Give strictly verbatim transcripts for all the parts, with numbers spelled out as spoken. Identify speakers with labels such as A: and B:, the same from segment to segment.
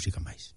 A: música máis.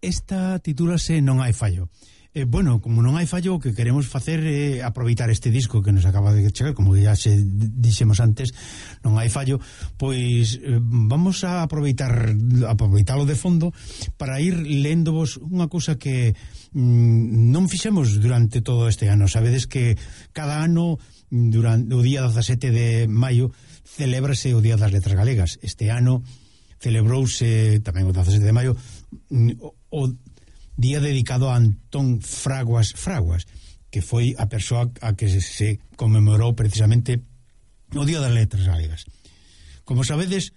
A: Esta titúlase Non hai fallo. Eh, bueno, como non hai fallo, o que queremos facer é eh, aproveitar este disco que nos acaba de chegar, como ya se dixemos antes, non hai fallo, pois eh, vamos a aproveitar aproveitalo de fondo para ir léndovos unha cousa que mm, non fixemos durante todo este ano. Sabedes que cada ano, durante o día dezasete de maio, celébrase o Día das Letras Galegas. Este ano celebrouse tamén o dezasete de maio o, o día dedicado a Antón Fraguas Fraguas, que foi a persoa a que se, se conmemorou precisamente o Día das Letras Galegas. Como sabedes,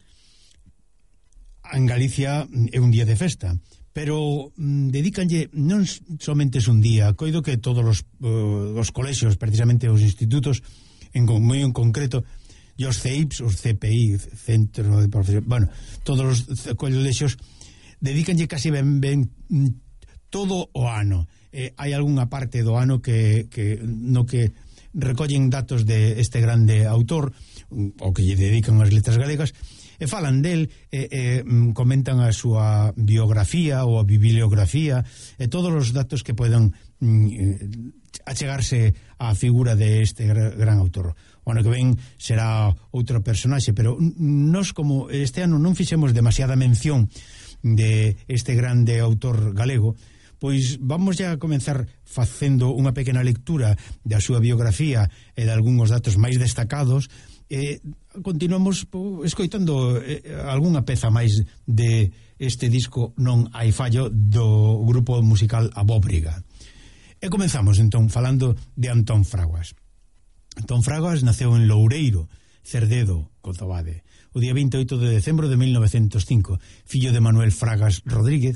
A: en Galicia é un día de festa, pero mm, dedícanlle non somente un día, coido que todos os, uh, os colexios, precisamente os institutos, en moi en concreto, e os C I P S, os C P I, Centro de Profesión, bueno, todos os colexios dedícanlle casi ben, ben todo o ano. Eh, hai algunha parte do ano que, que no que recollen datos de este grande autor, o que lle dedican as letras galegas, e falan del, e, e comentan a súa biografía ou a bibliografía, e todos os datos que poden mm, achegarse á figura de este gran autor. O ano que ven será outro personaxe, pero nós, como este ano non fixemos demasiada mención de este grande autor galego, pois vamos ya a comenzar facendo unha pequena lectura da súa biografía e de algúns datos máis destacados. E continuamos po, escoitando eh, algunha peza máis de este disco Non hai fallo do grupo musical Abóbriga. E comenzamos entón falando de Antón Fraguas. Antón Fraguas naceu en Loureiro, Cerdedo, Cotobade, o día vinte e oito de decembro de mil novecentos cinco, fillo de Manuel Fragas Rodríguez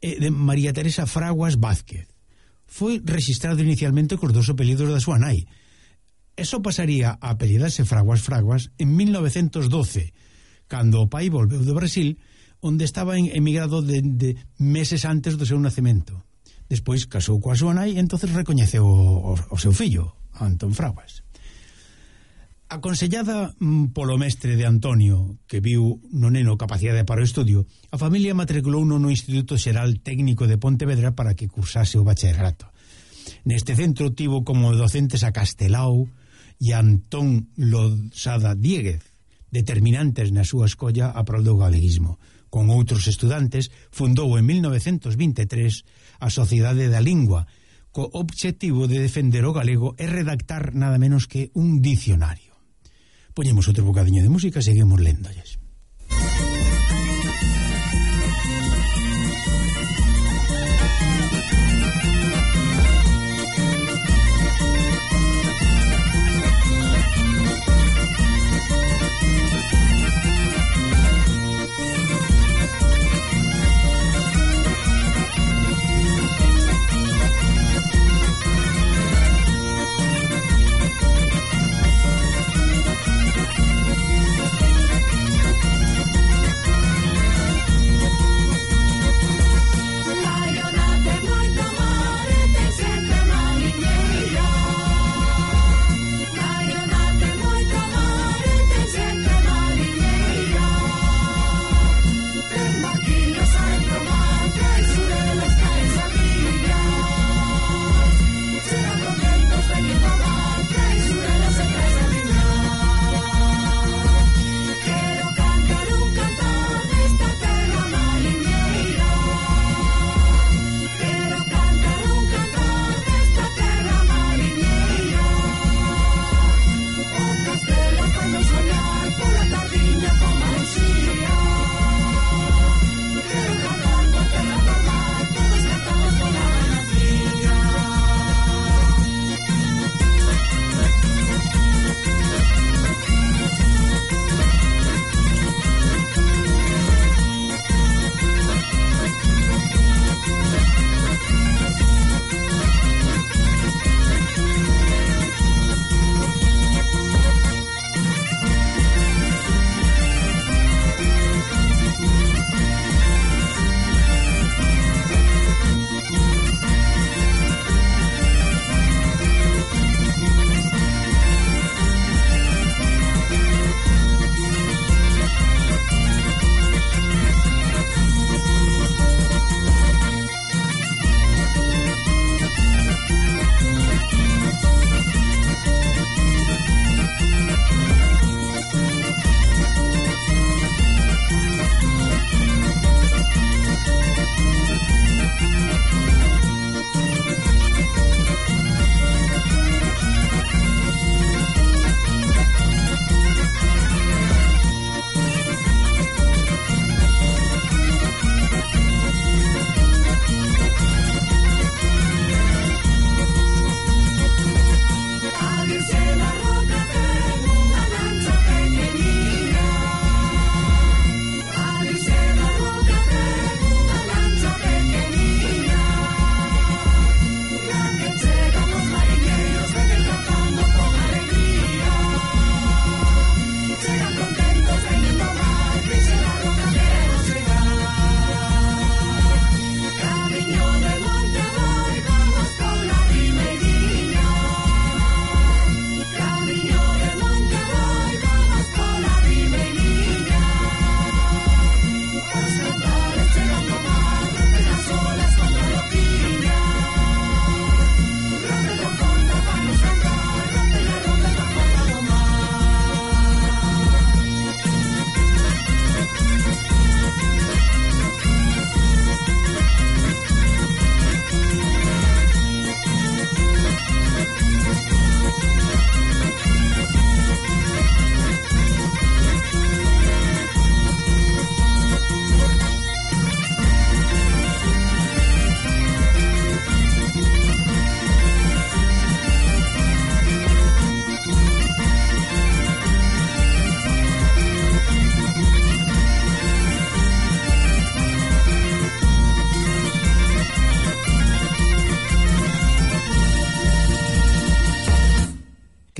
A: e de María Teresa Fraguas Vázquez. Foi registrado inicialmente cos dos apelidos da súa nai. Eso pasaría a apelidarse Fraguas Fraguas en mil novecentos doce, cando o pai volveu do Brasil, onde estaba emigrado de, de meses antes do seu nacemento. Despois casou coa súa nai e entonces recoñeceu o, o, o seu fillo, Antón Fraguas. Aconsellada polo mestre de Antonio, que viu no neno capacidade para o estudio, a familia matriculou no Instituto Xeral Técnico de Pontevedra para que cursase o bacharelato. Neste centro tivo como docentes a Castelao e a Antón Losada Dieguez, determinantes na súa escolla a prol do galeguismo. Con outros estudantes, fundou en mil novecentos vinte e tres a Sociedade da Lingua, co obxectivo de defender o galego e redactar nada menos que un dicionario. Poñemos outro bocadiño de música e seguimos léndolles.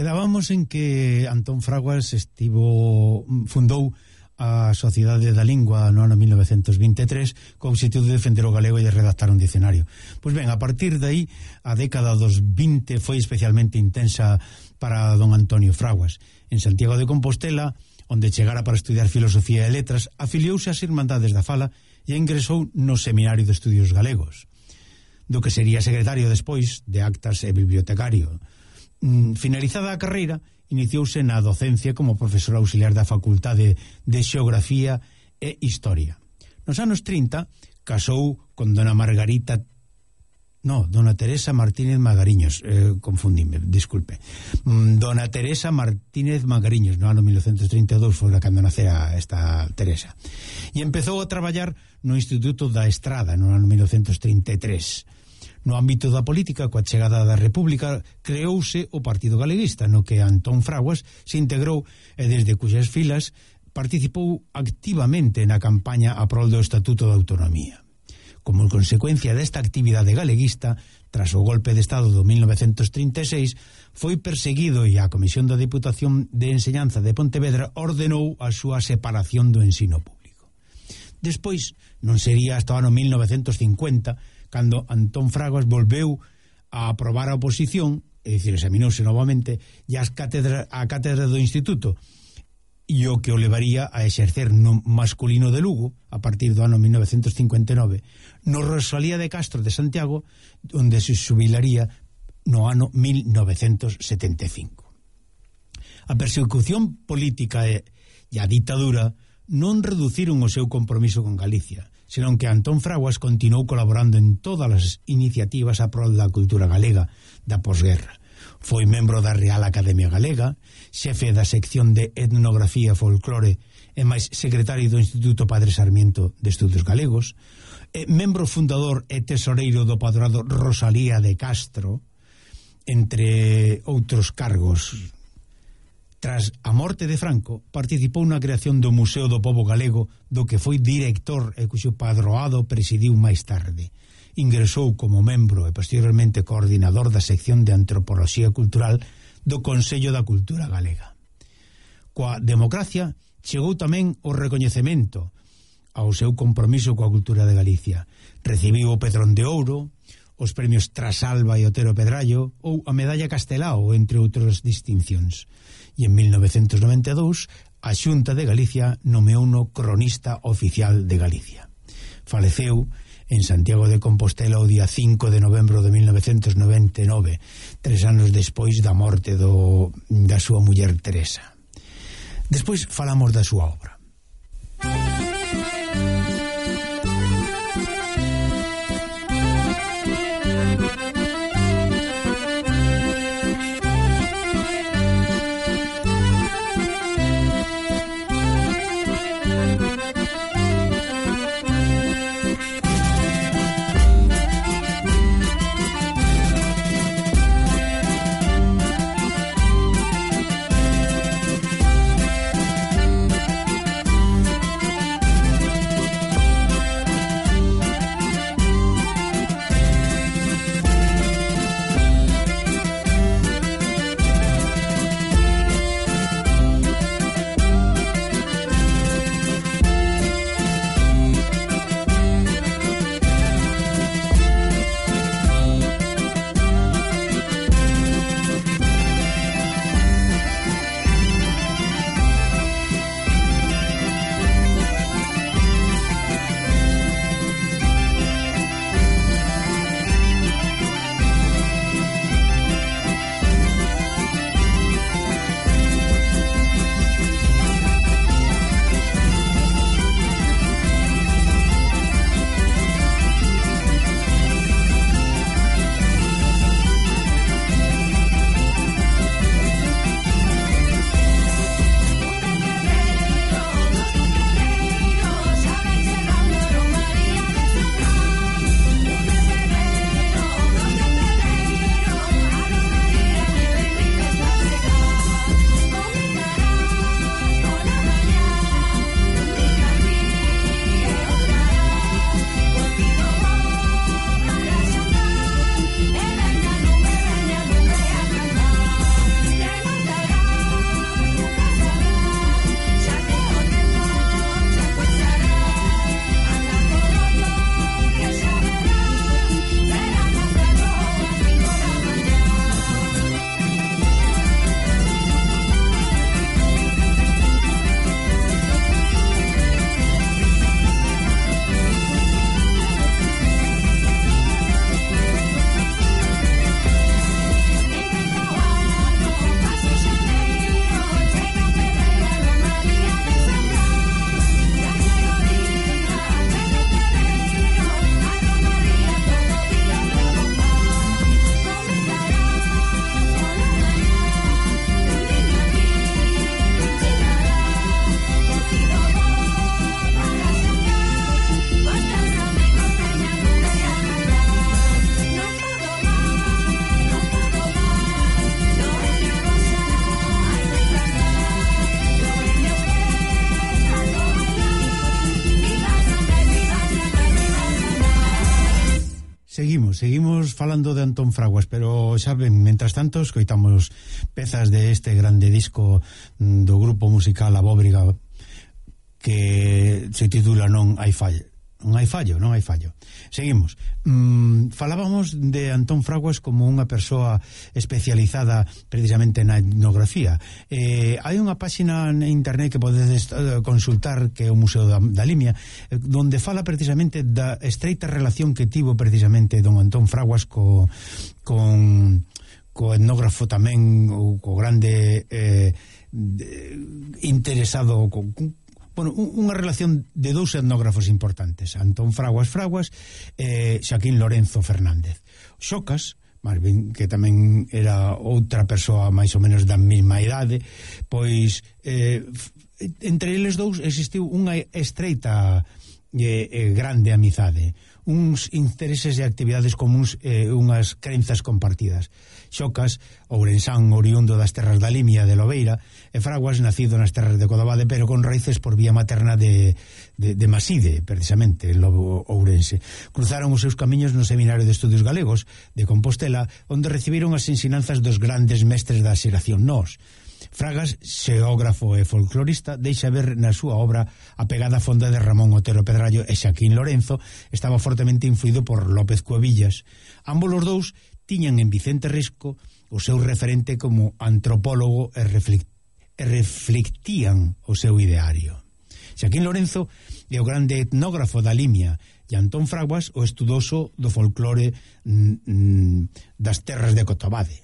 A: Quedábamos en que Antón Fraguas estivo fundou a Sociedade da Lingua no ano mil novecentos vinte e tres co obxectivo de defender o galego e de redactar un dicionario. Pois ben, a partir de aí, a década dos vinte foi especialmente intensa para don Antonio Fraguas. En Santiago de Compostela, onde chegara para estudiar filosofía e letras, afiliouse ás Irmandades da Fala e ingresou no Seminario de Estudios Galegos, do que sería secretario despois de actas e bibliotecario. Finalizada a carreira, iniciouse na docencia como profesor auxiliar da Facultade de Xeografía e Historia. Nos anos trinta casou con dona Margarita no, dona Teresa Martínez Magariños, eh, confundime, disculpe. Dona Teresa Martínez Magariños, no ano mil novecentos trinta e dous foi cando nacera esta Teresa. E empezou a traballar no Instituto da Estrada no ano mil novecentos trinta e tres. No ámbito da política, coa chegada da República, creouse o Partido Galeguista, no que Antón Fraguas se integrou e desde cuxas filas participou activamente na campaña a prol do Estatuto de Autonomía. Como consecuencia desta actividade galeguista, tras o golpe de Estado do mil novecentos trinta e seis, foi perseguido e a Comisión da Diputación de Enseñanza de Pontevedra ordenou a súa separación do ensino público. Despois, non sería hasta o ano mil novecentos cincuenta cando Antón Fraguas volveu a aprobar a oposición, é dicir, examinouse novamente, e as cátedra, a cátedra do Instituto, e o que o levaría a exercer no masculino de Lugo a partir do ano mil novecentos cincuenta e nove, no Rosalía de Castro de Santiago, onde se xubilaría no ano mil novecentos setenta e cinco. A persecución política e, e a ditadura non reduciron o seu compromiso con Galicia, senón que Antón Fraguas continuou colaborando en todas as iniciativas a prol da cultura galega da posguerra. Foi membro da Real Academia Galega, xefe da sección de etnografía e folclore e máis secretario do Instituto Padre Sarmiento de Estudos Galegos, e membro fundador e tesoreiro do Padrado Rosalía de Castro, entre outros cargos. Tras a morte de Franco, participou na creación do Museo do Pobo Galego, do que foi director e cuxo padroado presidiu máis tarde. Ingresou como membro e posteriormente coordinador da sección de Antropoloxía Cultural do Consello da Cultura Galega. Coa democracia chegou tamén o recoñecemento ao seu compromiso coa cultura de Galicia. Recibiu o Pedrón de Ouro, os premios Trasalba e Otero Pedrallo ou a Medalla Castelao, entre outras distincións. E en mil novecentos noventa e dous a Xunta de Galicia nomeouno cronista oficial de Galicia. Faleceu en Santiago de Compostela o día cinco de novembro de mil novecentos noventa e nove, tres anos despois da morte do, da súa muller Teresa. Despois falamos da súa obra. falando de Antón Fraguas, pero xa ben, mentras tanto escoitamos pezas de este grande disco do grupo musical A Bóbriga, que se titula Non hai fallo. Non hai fallo, non hai fallo. Seguimos. Mm, falábamos de Antón Fraguas como unha persoa especializada precisamente na etnografía. Eh, hai unha páxina na internet que podedes consultar, que é o Museo da, da Limia, eh, donde fala precisamente da estreita relación que tivo precisamente don Antón Fraguas co, con, co etnógrafo tamén, ou co grande eh, de, interesado con, bueno, unha relación de dous etnógrafos importantes, Antón Fraguas Fraguas e eh, Xaquín Lorenzo Fernández. Xocas, máis ben, que tamén era outra persoa máis ou menos da mesma idade, pois eh, entre eles dous existiu unha estreita e eh, grande amizade, uns intereses e actividades comuns, eh, unhas crenzas compartidas. Xocas, ourensán, oriundo das terras da Limia de Lobeira, e Fraguas, nacido nas terras de Codabade, pero con raíces por vía materna de, de, de Maside, precisamente, en Lobo Ourense. Cruzaron os seus camiños no Seminario de Estudios Galegos de Compostela, onde recibiron as ensinanzas dos grandes mestres da xeración nós. Fragas, xeógrafo e folclorista, deixa ver na súa obra a pegada fonda de Ramón Otero Pedrallo, e Xaquín Lorenzo estaba fortemente influído por López Cuevillas. Ambos os dous tiñan en Vicente Risco o seu referente como antropólogo e, reflect, e reflectían o seu ideario. Xaquín Lorenzo é o grande etnógrafo da Limia e Antón Fraguas o estudoso do folclore mm, das terras de Cotobade.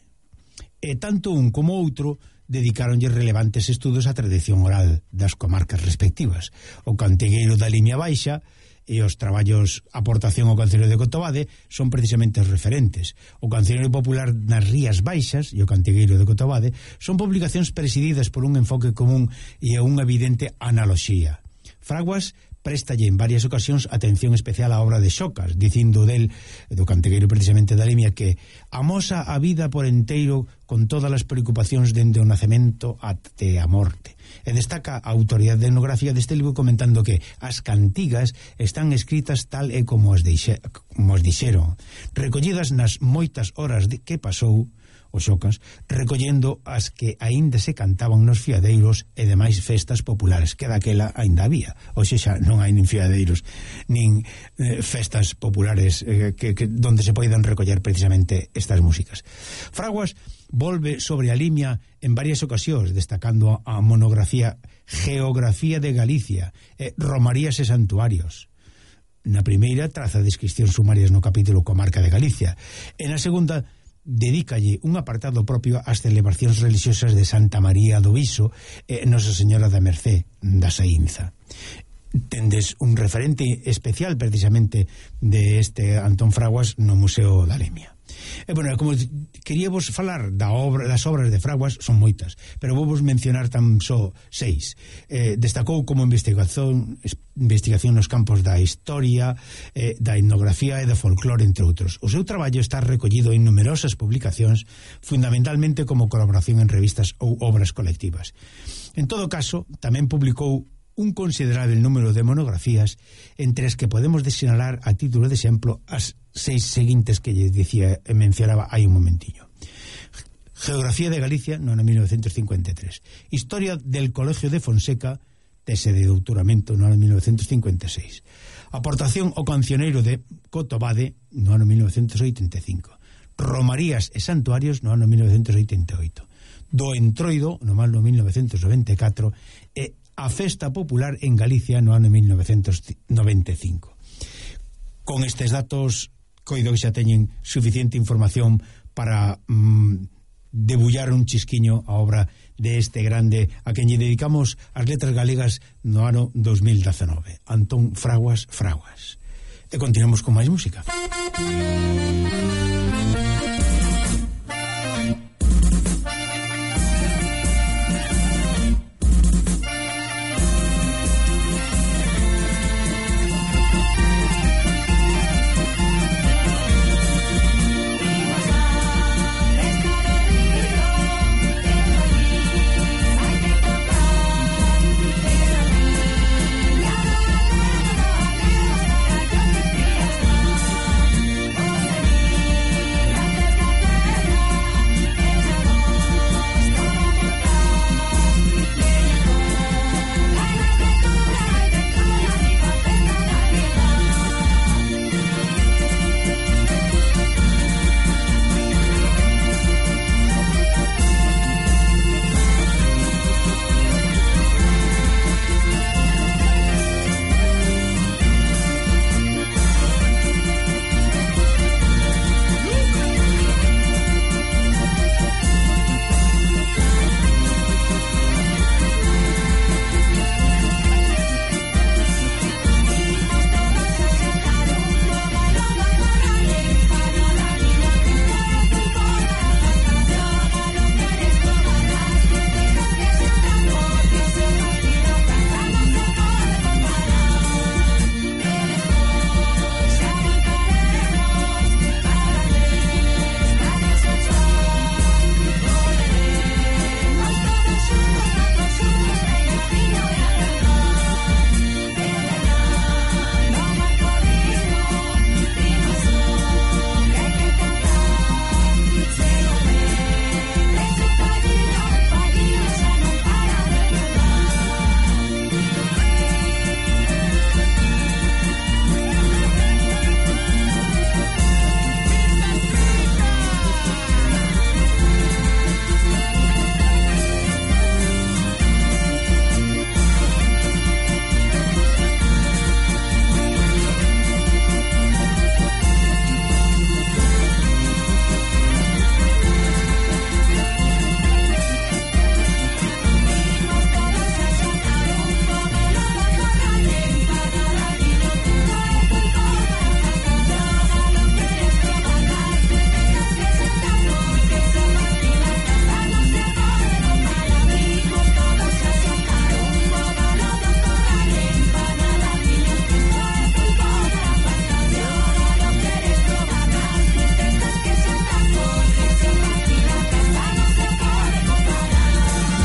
A: E tanto un como outro dedicaronlle relevantes estudos á tradición oral das comarcas respectivas. O cantegueiro da Limia Baixa e os traballos Aportación ao Cancioneiro de Cotobade son precisamente os referentes. O Cancioneiro Popular nas Rías Baixas e o Cantegueiro de Cotobade son publicacións presididas por un enfoque común e unha evidente analoxía. Fraguas préstalle en varias ocasións atención especial á obra de Xocas, dicindo del, do cantegueiro precisamente da Limia, que amosa a vida por enteiro con todas as preocupacións dende o nacemento até a morte. E destaca a autoridade etnográfica deste libro comentando que as cantigas están escritas tal e como as, deixe, como as dixeron, recollidas nas moitas horas de que pasou o Xocas, recollendo as que aínda se cantaban nos fiadeiros e demais festas populares, que daquela aínda había. Hoxe xa non hai nin fiadeiros nin eh, festas populares eh, que, que, donde se poidan recoller precisamente estas músicas. Fraguas volve sobre a Limia en varias ocasións, destacando a monografía Geografía de Galicia e Romarías e Santuarios. Na primeira traza descripcións sumarias no capítulo Comarca de Galicia, e na segunda dedícalle un apartado propio ás celebracións religiosas de Santa María do Viso e Nosa Señora da Mercé da Saínza. Tendes un referente especial precisamente de este Antón Fraguas no Museo da Limia. E, bueno, como queríamos falar da obra, das obras de Fraguas, son moitas, pero vou vos mencionar tan só seis. Eh, destacou como investigación investigación nos campos da historia, eh, da etnografía e da folclore, entre outros. O seu traballo está recollido en numerosas publicacións, fundamentalmente como colaboración en revistas ou obras colectivas. En todo caso, tamén publicou un considerable número de monografías, entre as que podemos desinalar a título de exemplo as seis seguintes que lle dicía e mencionaba hai un momentiño. Geografía de Galicia, no ano mil novecientos cincuenta e tres. Historia del Colegio de Fonseca, tese de doutoramento, no ano mil novecientos cincuenta e seis. Aportación ao Cancioneiro de Cotobade, no ano mil novecientos oitenta e cinco. Romarías e Santuarios, no ano mil novecientos oitenta e oito. Do Entroido, no ano mil novecientos noventa e catro, e a Festa Popular en Galicia no ano mil novecientos noventa e cinco. Con estes datos, coido que xa teñen suficiente información para mm, debullar un chisquiño a obra de este grande a quen lle dedicamos as letras galegas no ano dos mil dezenove, Antón Fraguas Fraguas. E continuamos con máis música.